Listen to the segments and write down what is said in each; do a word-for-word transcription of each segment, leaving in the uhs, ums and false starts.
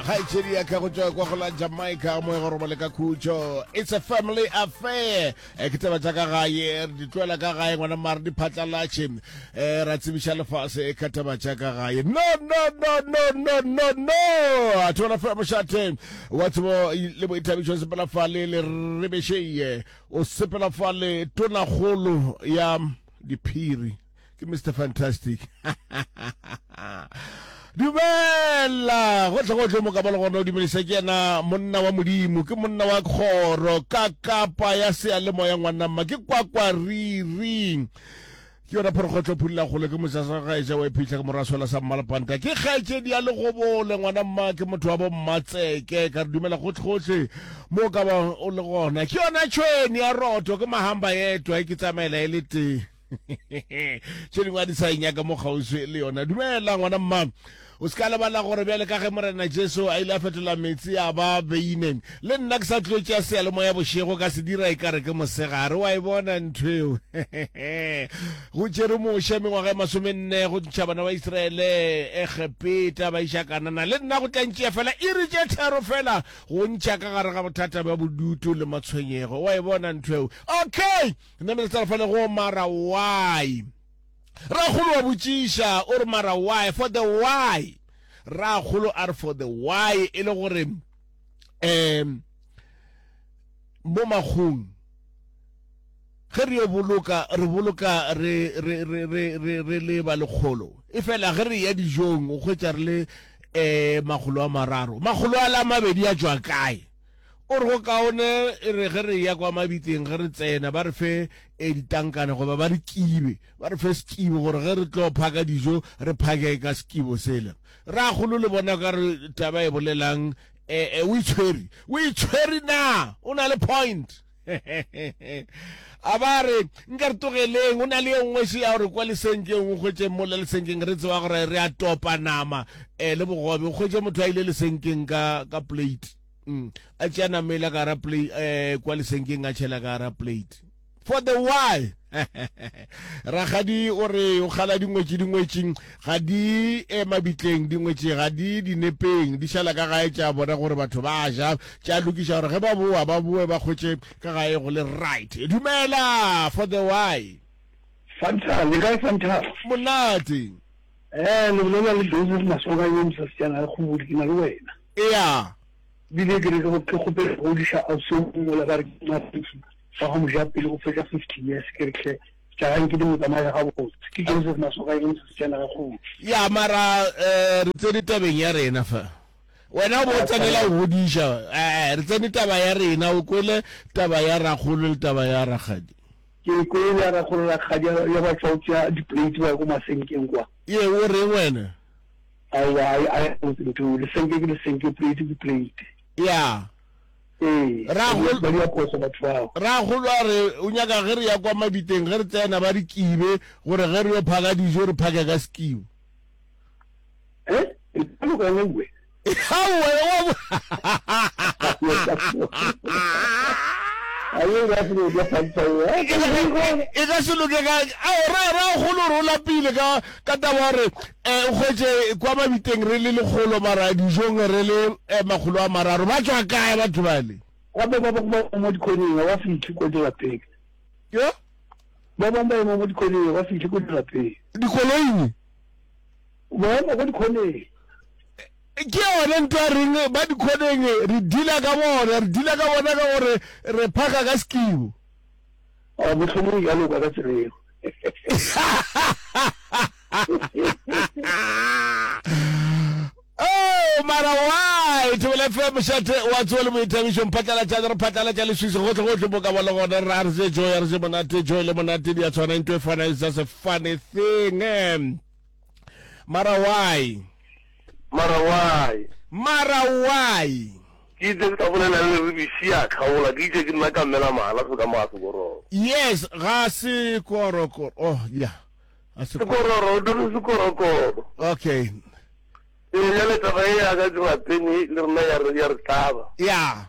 Kgaetšedi ya ka go tšwa kwa go la Jamaica, moya go robale ka khutšo. It's a family affair. Eh, ke taba tša ka gae, re di tloela ka gae ngwana mare di phatlalatše. Eh, ra tsebiša lefase ka taba tša ka gae. No, no, no, no, no, no, no. A thola fela mošate wa tsebo le boithabišo sepela fale le rebešeye. O sepela fale tonakgolo ya diphiri. Ke Mister Fantastic. Dumela gohle gohle mo ka ba le gona o dumedisa ke yena monna wa modimo ke monna wa kgoro ka kapa ya seyalemoya ngwanamma ke kwakwariri ke yona phorokgotlo phulila kgole ke mosasa gaeša wa iphitlha ke moraswela sa mmalapanta ke kgaetšedi ya legobole ngwanamma ke motho wa bommatseke ka re dumela gohle gohle mo ka ba o le gona ke yona tšhweni ya roto ke mahamba yetwa e ke tsamaela e le tee tše dingwe a di sa inyaka mo kgauswi le yona. Dumela ngwana mma, o se ka lebala gore bjale ka ge Morena Jesu a ile a fetola meetse a ba beine, le nna ke sa tlo tšea seyalemoya bošego ka se dira e ka re ke mosegare. Wa e bona ntho eo? Go tšere Moshe mengwaga e masomenne go ntšha bana ba Israele Egepeta ba iša Kanana, le nna go tla ntšea fela iri tše tharo fela go ntšha ka gare ga bothata bja bodutu le matshwenyego. Wa e bona ntho eo? Okay! Nna mele tsala fale go mara why? Rakgolo wa botšiša o re mara why? For the why? Rakgolo a re for the why e le gore um mo makgong ge re yo boloka re boloka re re re re re re le ba lekgolo e fela ge re ya dijong o hwetša re le um makgolo a mararo makgolo a la mabedi a tšwa kae o re go kaone e re ge re ya kwa mabitleng ge re tsena ba re fe e ditankane goba ba re kibe ba re fe sekibo gore ge re tlo phaka dijo re phake ka sekibo sela rakgolo le bona ka re taba e bolelang eh, o itshwere o itshwere na o na le point a ba re nka re tlogeleng o na le ye nngwe še ya gore kwa lesenkeng o hwetše mola lesenkeng re tseba gore re a topa nama um le bogobe o hwetše motho a ile lesenkeng ka ka plate mm. a tšea namela ka gara plate eh, kwa lesenkeng a tšhela ka gara plate for the why rakgadi o re o kgala dingwetši dingwetšing ga di e mabitleng dingwetši ga di dinepeng di šala ka gae tša bona gore batho ba ja tša lokiša gore ge ba boa ba boe ba kgwetše ka gae go le right. Dumela for the why. Fanta, le kae Fanta? Monate. Eh, le bolela le Joseph Masoka yo mosasetsana le kgobodi ke na le wena. Ea. Bile ke re ke kgopela go godiša ausi o mongwe la ba re ke Mafiki wa go moja pele go fetša fifty years ke re hle tša gae ke di mo tsamaya gabotse. Ke Joseph Masoka yo mosasetsana ga kgobodi. Ya mara eh, re tsene tabeng ya rena fa. Wena o bo o tsenela go godiša. Eh, re tsene taba ya rena o kwele taba ya rakgolo le taba ya rakgadi. Ke kwele ya rakgolo rakgadi ya ba tšwa o tšea di-plate ba ya ko masenkeng kwa. Ye o reng wena? Aowa, a a botse ntho, lesenke ke lesenke, plate ke plate. Ya. Ee, Rakgolo ba dira phoso batho bao. Rakgolo a re o nyaka ge re ya kwa mabiteng ge re tsena ba re kibe gore ge re yo phaka dijo re phake ka sekibo. Eh? E ka loka nngwe. Aowa, wa e ka se loke ka ao ra rakgolo re o lapile ka ka taba gore um o kgwetše kwa mabiteng re le lekgolo mara dijong re le eh, makgolo a mararo ba tšwa kae batho bale Gape ba bangwe ba mo dikhoneng ga ba fihle ko dirapeng. Yo? Ba bangwe ba ema mo dikhoneng ga ba fihle ko dirapeng. Dikoloing? Ba ema ko dikhoneng. Ke yone ntho ya reng ba dikhoneng re deala ka bona re deala ka bona ka gore re phaka ka sekibo. A mohlomong e ka loka ka tsela eo. Oh, mara why Thobela F M mošate wa tsoa le boithabišo mphatlalatšane re phatlalatša leswiswi gohle gohle mo ka ba le gona re a re se joy a re se monate joy le monate di a tshwana ntho e fana is just a funny thing eh. Mara why? Mara why? Mara why? Ke itse ke ka bolela le Ribisi ya kgaola, ke itse ke nna ka mmela mahala se ka mo ga sekororo. Yes, ga sekorokoro. Oh, yeah. Ga sekororo, o dire sekorokoro. Okay. Ee, bjale taba e ya ka dirapeng le rena ya re ya re tlaba. Yeah.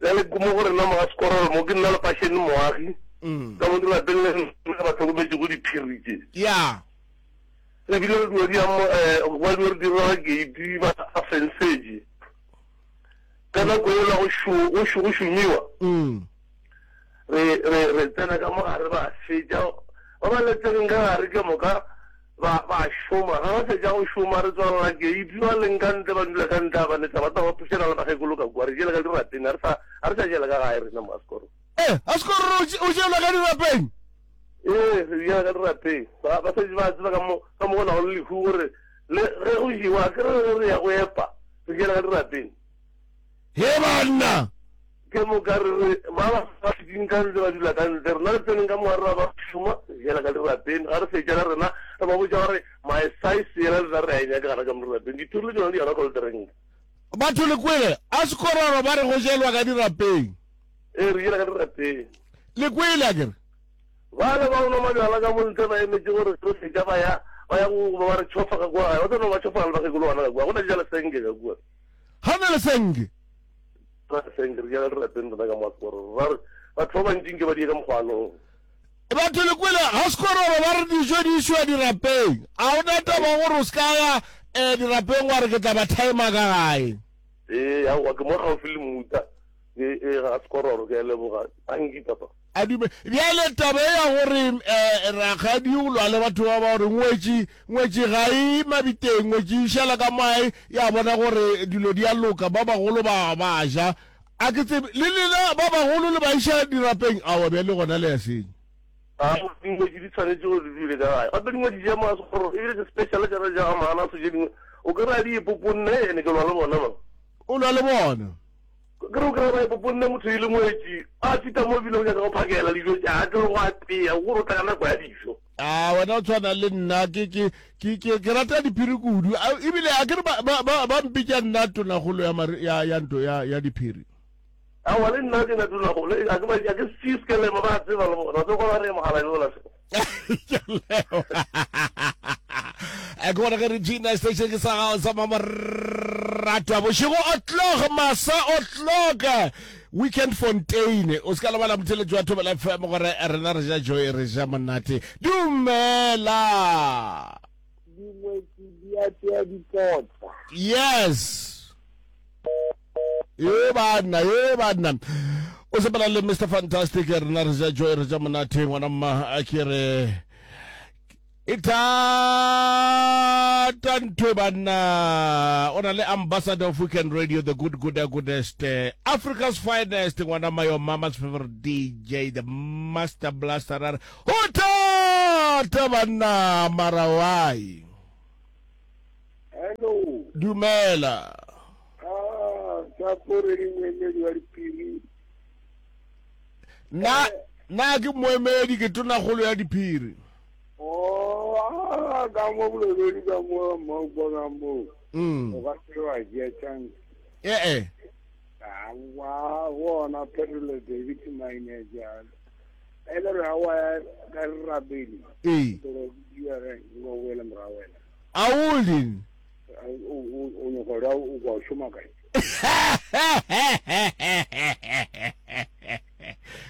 Bjale ko mo go rena mo ga sekororo mo ke nna le Fasheni Moagi. Mm. Ka mo dirapeng le rena ba hlokometšego diphiri tše. Yeah. Re bile re dilo di amo ba dilo re direla gate ba fensetše. Ka nako ela go šo go šo go šomiwa. Mm. Re re re tsena ka mo gare ba fetša ba ba letseng ka gare ke moka ba ba šoma ga ba fetša go šoma re tswalela gate ba leng ka ntle ba dula ka ntle ba letsa ba tla ba phušela le bakgekolo ka kua re jela ka dirapeng a re sa a re sa jela ka gae rena mo Askoro. Eh, Askoro o jelwa ka dirapeng? Ee, re jela ka dirapeng. Ba ba šetše ba tseba ka mo ka mo go nago le lehu gore le ge go jewa ke re re ya go epa re jela ka dirapeng. He banna! Ke moka re re ba ba ba šetšeng ka ntle ba dula ka ntle rena re tseneng ka mo gare ra ba šoma re jela ka dirapeng ga re fetša le rena re ba botša gore my size yela rena re a e nyaka gana ka mo dirapeng dithuri le tšona di yona cold drink. Batho le kwele Askororo ba re go jelwa ka dirapeng. Ee, re jela ka dirapeng. Le kwele akere? Bale ba go nwa mabjala ka mo ntle ba emetše gore re fetša ba ya ba ya go ba re tšhofa ka kua gae ba tlo no ba tšhofa le bakgekolo bana ka kua go na ja lesenke ka kua. Ga na lesenke. Na lesenke re jela dirapeng rena ka mo Askororo ra re batho ba bantši nke ba die ka mokgwanong. Batho le kwele ga Skororo ba re dijo di išwa dirapeng a o na taba gore o se ka ya um dirapeng wa re ke tla ba timer ka gae. Ee aowa ke mo gaufi le Mmuta ee ga Skororo ke a leboga tanki papa. A dume bjale taba e ya gore um rakgadi o lwa le batho ba ba gore ngwetši ngwetši ga e mabiteng ngwetši e šala ka moae ya bona gore dilo di a loka ba bagolo ba ba ja a ke tsebe le lena ba bagolo le ba iša dirapeng aowa bjale gona le ya senya. Aowa dingwetši di tshwanetše gore di dule ka gae gape dingwetši tša mo Sekgororo ebile ke special tša tša ga Mahanaso tše dingwe o kry-a di ipoponne ene ke lwa le bona man. O lwa le bona. Ke re o kry-a ba ipoponne motho e le ngwetši a fihla mo ebile o nyaka go phakela dijo tša a tle go apea gore o tla ka nako ya dijo. A wena o tshwana le nna ke ke ke ke ke rata diphiri kudu ebile a ke re ba ba ba ba mpitša nna tonagolo ya ya ya nto ya ya diphiri. Aowa le nna ke na tonagolo a ke ba a ke se skelema ba tseba le bona tlo kwa ba re mogala yola. Ke bona ge re Gina station ke sa gago sa mamoratwa bošego o'clock masa o'clock weekend fontaine o se ka lebala motheletši wa Thobela F M gore rena re ja joy re ja monate dumela dingwetši di a tšea dipotsa. Yes ye banna ye banna o sepela le Mister Fantastic rena re ja joy re ja monate ngwana mma a ke re e thata ntho banna o na le ambassador of weekend radio the good good goodest Africa's finest ngwana mma your mama's favorite D J the master blaster ra re ho thata banna mara why. Hello. Dumela. Ah, tsa pore le moemedi wa diphiri. Na na ke moemedi ke tonagolo ya diphiri. Oh, ah, ka mo boleledi ka mo mo ka mo. Mm. O ka se wa tšea chance. Eh eh. Ah, wa bona Pedro David Mine jalo. Ele re wa ka rabeli. Eh. Toro di re ngo wela morawela. Auli. O o o nyoko ra o go šoma kae?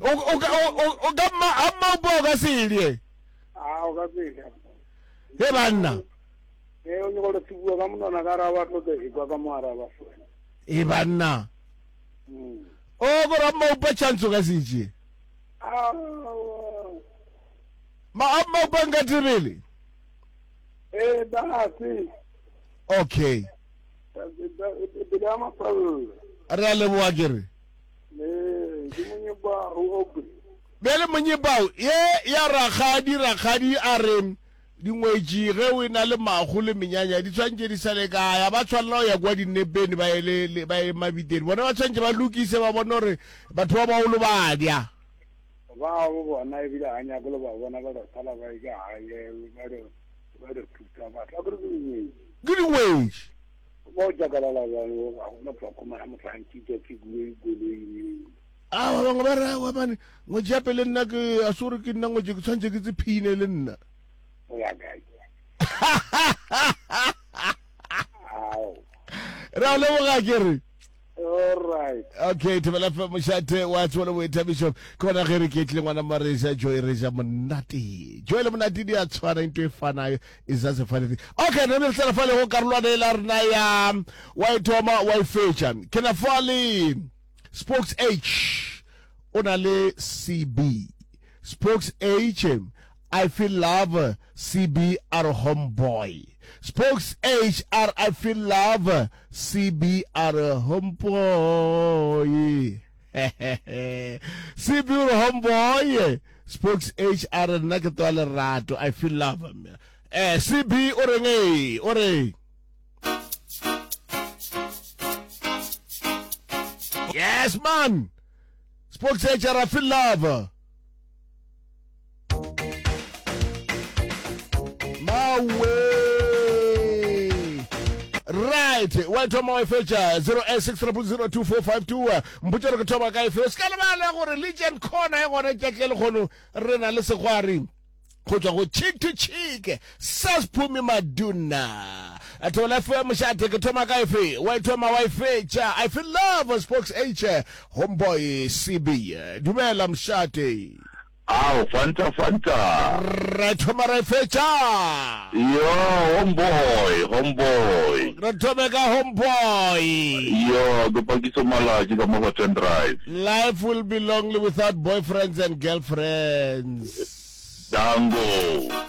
O o o o ka ma amma o ka se le. Ah, o ka se. He banna. Eh, o nyoko re bua ka monana ka ra ba tlo e kwa ka mo araba. E banna. Mm. O go ra mo pa chance ka se tše. Ah. Ma amma o banga tebele. Eh, ba se. Okay. Re a leboga ke re. Bjale monyebao ye ya rakgadi rakgadi a re dingwetši ge o na le mago le menyanya di tshwanetse di sale kae ba tshwanela go ya kwa dinepeng ba ye ba ye mabiteng bona ba tshwanetse ba lokise ba bone gore batho ba bagolo ba dya ba bo bona ebile ga nyako le ba bona ba sala ba ka gae ba re ba re thuta batho a ke ke dingwetši ba o jakalala bjalo ga gona tlhokomela motho a nkitša ke koloi. A ba bangwe ba re aowa mane ngwetši ya pele nna ke a se gore ke nna ngwetši ke tshwanetse ke tsephine le nna. O ya kae? Re a leboga ke re. All right. Okay, Thobela F M mošate wa tsebo le boithabišo. Ke gona ge re ketlile ngwana Maresa Joy re ja monate. Joy le monate di a tshwana into e fanayo is just a funny thing. Okay, re re tsela fale go karolwana e la rena ya wa e thoma wa e fetša. Ke na fale Spokes H o na le C B. Spokes H I feel love C B a re homeboy. Spokes H a re I feel love C B a re homeboy. C B o re homeboy. Spokes H a re nna ke toa lerato I feel love. Eh C B o reng e o re Yes man. Spokes H a re I feel love. Mawe. Right, wa thoma wa e fetša zero eight six triple zero two four five two. Mpotše gore ke thoma ka efe. O se ka lebala gore Legend Corner e gona tšatši le lekgono re na le segwari go tšwa go Cheek to Cheek Sas Phumi Maduna. Thobela F M mošate ke thoma ka efe. Wa e thoma wa e fetša. I feel love Spokes H Homeboy C B. Dumela mošate. Ao, Fanta, Fanta. Re thoma re fetša. Yo, homeboy, homeboy. Re thome ka homeboy. Yo, ke Pakiso Malatji ka mo go Ten Drive. Life will be lonely without boyfriends and girlfriends. Dango.